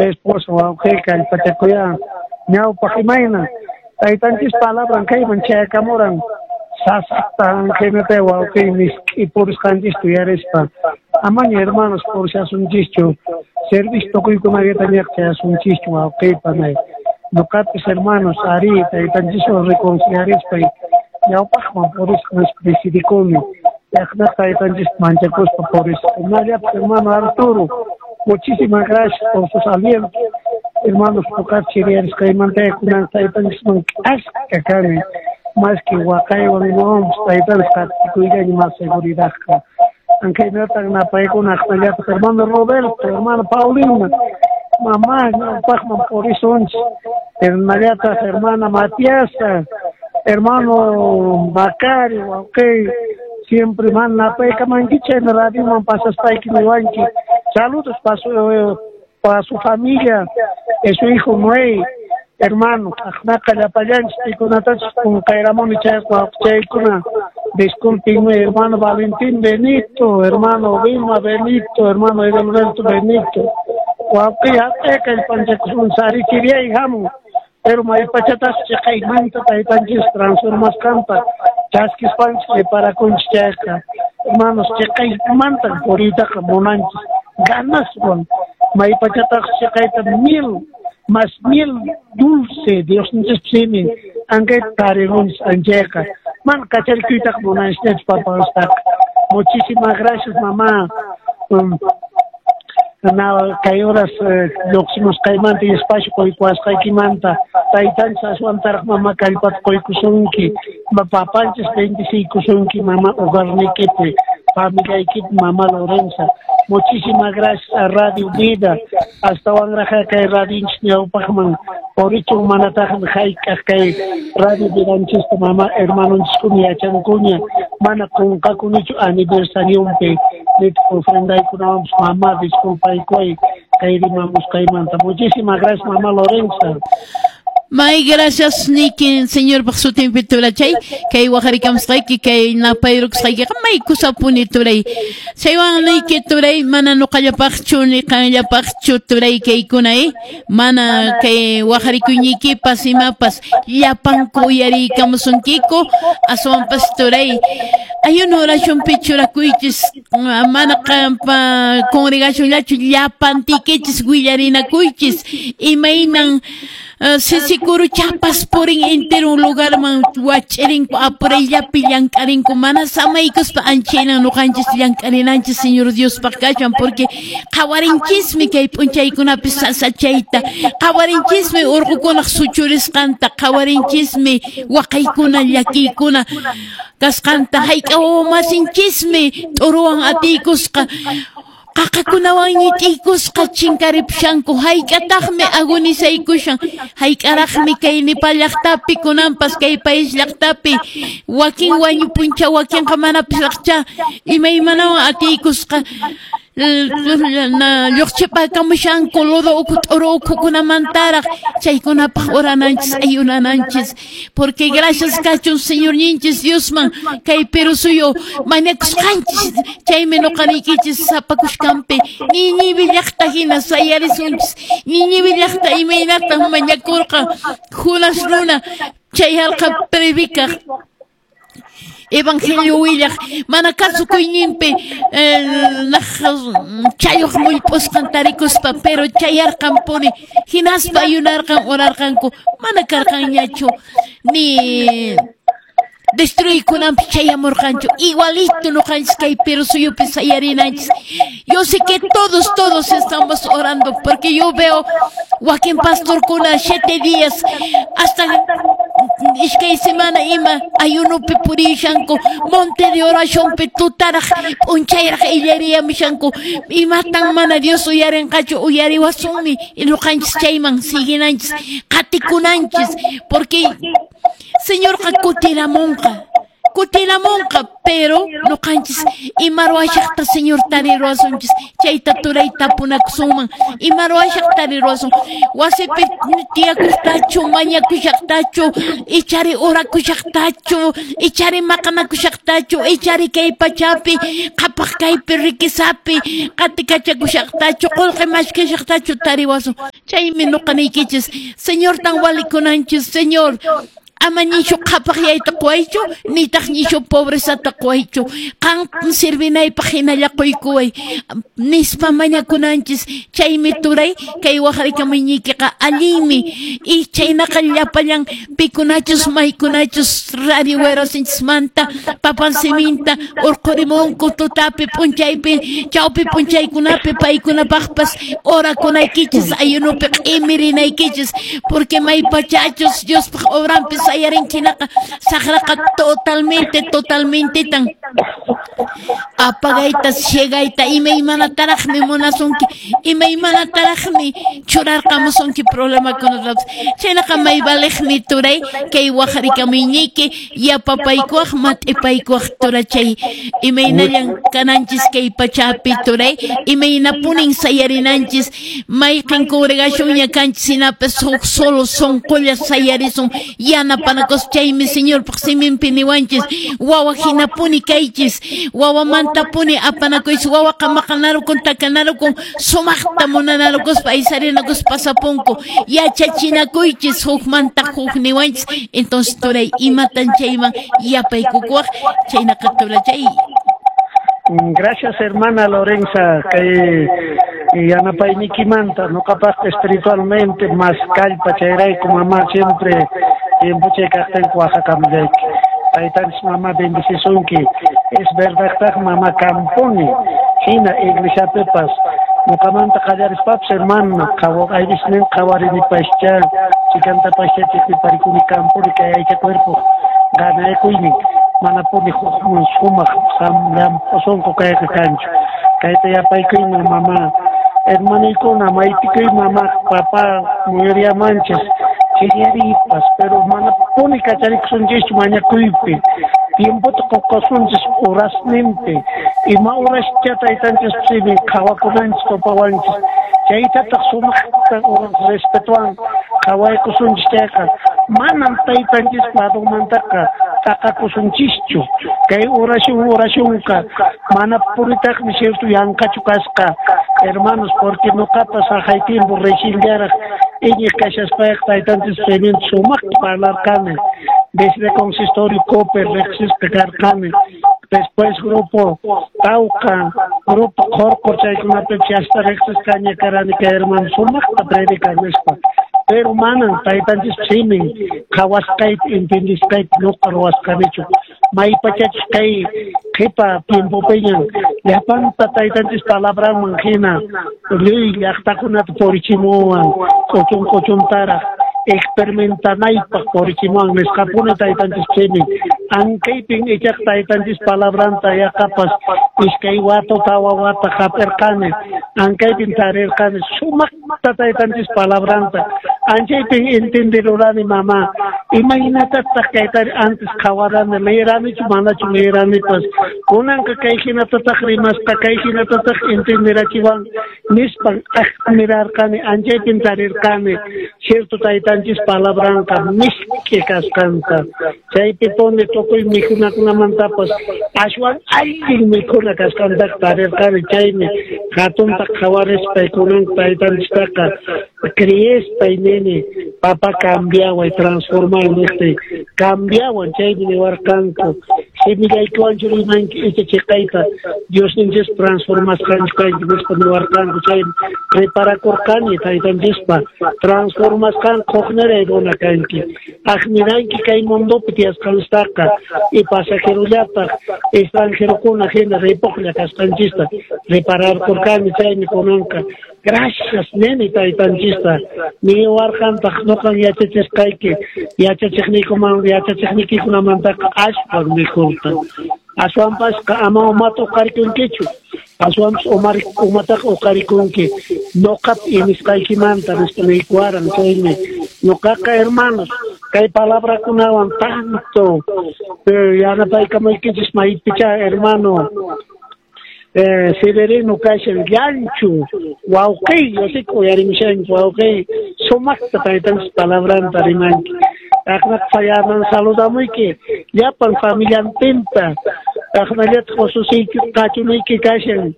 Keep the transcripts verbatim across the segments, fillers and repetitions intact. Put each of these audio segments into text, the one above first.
Esposo wawqi kallpachakuya ñawpaq imayna taytanchis palabran kayman chayakamuran sasaqta anqinata wawqi misk'i purisqanchista uyarispa amaña hermanos purishasunchikchu servicio tukuykunallata ñaqchayasunchikchu wawqi panay ñuqapis hermanos ari taytanchiswan reconciliarispay ñawpaqman purisqa nispa decidikuni llaqtata taytanchista manchakuspa purisqa hinallataq hermano Arturo, muchísimas gracias por sus alientos. Hermanos, ñuqapi chiriyarisqaymanta kunan taytanchisman k'aska kani más que waqaywan imawanpas taytanchis qatikuyllaña más seguridadqa. Ankaynatan napaykuna aqnallataq hermano Roberto, hermano Paulina, mamá ñawpaqman purisunchik, hinallataq hermana Matiasa, hermano Macario, wawqi siempre man napaykamanki chayna radioman pasaspayki niwanki. Saludos para su, para su familia, y su hijo Noé, hermano, aqnaqa llapallanchis pikunatachis qunqayramuni chaykuna. Disculpenme, hermano Valentín Benito, hermano Vilma Benito, hermano Edelberto Benito. Wawqi haq'ay kallpanchakusun sarichiriyay hamun, pero maypachatas chiqaymanta taytanchis transformasqanta chaskispanchis preparakunchis chayqa. Hermanos, chiqaymanta puriytaqa munanchis ganaswan maypachataq chiqayta mil más miel dulce Diosninchis simin ankayta tarirunchis anchayqa mana kacharikuytaqa munanchisñachu papastaqa. Muchísimas gracias, mamá. Um, na kay horas lluqsimusqaymanta y espacio quykuwasqaykimanta taytanchis aswantaraq mama kallpata quykusunki, papanchis bendiciykusunki mama hogarnikipi familiaykipi mamá Lorenza. Muchísimas gracias a Radio Vida, astawanraq kay radionchis ñawpaqman purichun manataqmi hayk'aq kay Radio Vidanchista mama hermanonchiskuna yachankuña mana qunqakunichu aniversarionpi nitaq ofrendaykunawanpas mamá disculpaykuway kay rimamusqaymanta. Muchísimas gracias, mamá Lorenza. May gracias niki señor sutinpi turachay kay waqarikamusqayki kay napayrukusqaykiqa may kusapuni turay chaywan niki turay mana nuqallapaqchu ni qanllapaqchu turay kaykuna eh mana kay waqarikuyñiykipas imapas llapanku uyariykamusunkiku aswanpas turay ayuno oracionpi churakuychis mana qampa congregacionllachu llapantikichis willarinakuychis imaynan sisikuru chapas purin entero lugarman wach'irinku apurayllapi llank'arinku mana samaykuspa anchaynan nuqanchis llank'arinanchis Señor Diospaq kachwan porque qhawarinchismi kay p'unchaykunapi sasachayta qhawarinchismi urqukunaq suchurisqanta qhawarinchismi waqaykuna llakiykuna kasqanta hayk'a wawamasinchismi t'uruwan atiykusqa qaqakunawan ñit'iykusqa chinkaripushanku hayk'ataqmi agonisaykushan hayk'araqmi kay Nepal llaqtapi kunanpas kay país llaqtapi wakin wañupuncha wakinqa manapis raqcha imaymanawan atiykusqa lluqchipakamushanku lodo ukhu t'uru ukhukunamantaraq chaykunapaq orananchis ayunananchis porque gracias kachun Señorninchis Diosman kay Perú suyu mañakusqanchis chaymi nuqaniykichis sapakushkanpi Nínive llaqta hina sayarisunchis Nínive llaqta imaynatan mañakurqa Judas runa chay harqa predicaq Evangelio willaq mana kasukuyninpi chayuq mullp'usqan tarikuspa pero chayarqanpuni hinaspa ayunarqan orarqanku mana karqanñachu ni destruykunanpi chayamurqanchu igualito nuqanchis kay Perú suyupi sayarinanchis. Yo sé que todos todos estamos orando porque yo veo wakin pastorkuna siete días hasta iskay semana ima ayunopi purishanku monte de oracionpi tutaraq p'unchayraq illariyamushanku imatan mana Dios uyarinqachu uyariwasunmi nuqanchis chayman siguinanchis qatikunanchis porque Señorqa kutiramunqa kutiramunqa pero nuqanchis ima ruwashaqta Señor tariruwasunchis chayta turay tapunakusunman ima ruwashaqta tariruwasun wasipi tiyakuqtachu mañakushaqtachu ichari orakushaqtachu ichari maqanakushaqtachu ichari kay pachapi qhapaq kaypi riquezapi qatikachakushaqtachu qullqi mashkashaqtachu tariwasun. Chaymi nuqaniykichis, Señortan walikunanchis, Señor, ama ñishu qhapaqyayta quwaychu, nitaq ñishu pobrezata quwaychu, qan sirvinaypaq hinalla quykuway nispa mañakunanchis. Chaymi turay kay waqarikamuyñiykiqa allinmi, y chaynaqa llapallan pikunachus maykunachus Radio Werasinchismanta papan siminta urqurimunku tutapi p'unchaypi chawpi p'unchaykunapi, paykunapaqpas orakunaykichis, ayunupi q'imirinaykichis, porque maypachachus Diospaq obranpi sayarinchinaqa saqraqa totalmente totalmente tan apagayta ciegayta imaymanataraqmi munasunki, imaymanataraqmi churarqamusunki problemakunatapas. Chaynaqa may valeqmi turay kay waqarikamuyñiyki, yapapaykuwaq mat'ipaykuwaq turachay, imaynallan kananchis kay pachapi turay, imaynapunin sayarinanchis, mayqin congregacionña kanchis hinapas huk solo sunqulla sayarisun yanapanakus. Chaymi Señorpaq siminpi niwanchis, wawa hinapuni kaychis, wawamantapuni apanakuychis, wawaqa maqanarukun takanarukun sumaqta munanarukuspa aysarinakuspa pasapunku, yachachinakuychis hukmanta huk niwanchis. Entonces turay, imatan chayman yapaykukuwaq? Chaynaqa turachay. Gracias, hermana Lorenza, kay yanapaynikimanta, nuqapaqqa espiritualmente más kallpa chayrayku mamá siempre tiempo chay kaqtinku waqakamullayki. Taytanchis mamá bendecisunki. Es verdad mamá kampuni hina iglesiapipas nuqamanta qallarispapas, hermana, ayrisnin qhawarinipascha chikantapascha chikpiparikuni kampuni kay aycha cuerpo ganaykuynin manapuni hukman sumaq llamp'u sunqu kayqa kanchu. Kayta yapaykuyman mamá, hermanaykuna maypikuy mamá papá muyuriyamanchis chillaripas, pero manapuni kacharikusunchischu mañakuypi, tiempota qukasunchis horasninpi, ima horascha taytanchis simin qhawakunanchis tupawanchis, chaytataq sumaqta respetuwan qhawaykusunchis chayqa manam taytanchis ladunmantaqa t'aqakusunchischu. Kay oración oracionqa mana punitaqmi cierto yanqachu kasqa, hermanos, porque nuqapas haqay tiempo recienllaraq iñiq kashaspayqa taytanchis siminta sumaqta parlarqani, desde consistorio Cooper riqsisqa karqani, después grupo Tauca, grupo Qorqor, chaykunapipas hasta riqsisqaña karani kay hermano sumaqta predican nispa, pero manan taytanchis simin qhawasqayta entendisqayta nuqa ruwasqanichu. Maypachachus kay qhipa tiempopiñan llapanta taytanchis palabranman hina lliw llaqtakunata purichimuwan k'uchun k'uchuntaraq experimentanaypaq purichimuwan nisqapuni taytanchis simin. Ankaypin ichaqa taytanchis palabranta yaqapas iskay wata tawa wata hap'irqani, ankaypin tarirqani sumaqta taytanchis palabranta, anchaypin entenderurani mamá imaynatataq kaytari antes qhawarani, leeranichu manachu leeranipas, kunanqa kay hinatataq rimasqa kay hinatataq entenderachiwan nispan admirarqani, anchaypin tarirqani cierto taytanchis palabranqa misk'i kasqanta, chaypipuni tukuy mikhunakunamantapas ashwan allin mikhuna kasqantaqa tarirqani. Chaymi hatunta qhawarispay kunan taytanchistaqa creespay nini, papá cambiaway transformay niqtiy cambiawan, chaymi niwarqanku simillaykiwanchu rimanki icha chiqayta Diosninchis transformasqanchu kanki nispa niwarqanku. Chaymi preparakurqani taytanchispa transformasqan hukniray runa kanki, admiranki kay mundopi tiyasqanchistaqa y pasajerollataq extranjerokuna hina ripuqlla kasqanchista repararkurqani. Chaymi kunanqa gracias nini taytanchista, niwarqantaq nuqan yachachisqayki yachachiqniykuman yachachiqniykikunamantaqa ashwan mejorta, aswanpasqa ama umata uqarikunkichu, aswanpas umataqa uqarikunki nuqap inisqaykimanta nispa niykuwaran. Chaymi nuqaqa hermanos kay palabrakunawan tanto yanapaykamaykichis maypicha hermano eh, Severino kashan llanchu wawqiy, yo sé que uyarimushanki wawqiy sumaqta taytanchis palabranta rimanki. Aqnaq fayaman saludamuyki llapan familiantinta, aqnallataq ususiyki qachunuyki kashan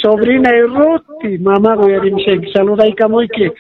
sobrina Ruti, mamá uyarimushanki saludaykamuyki.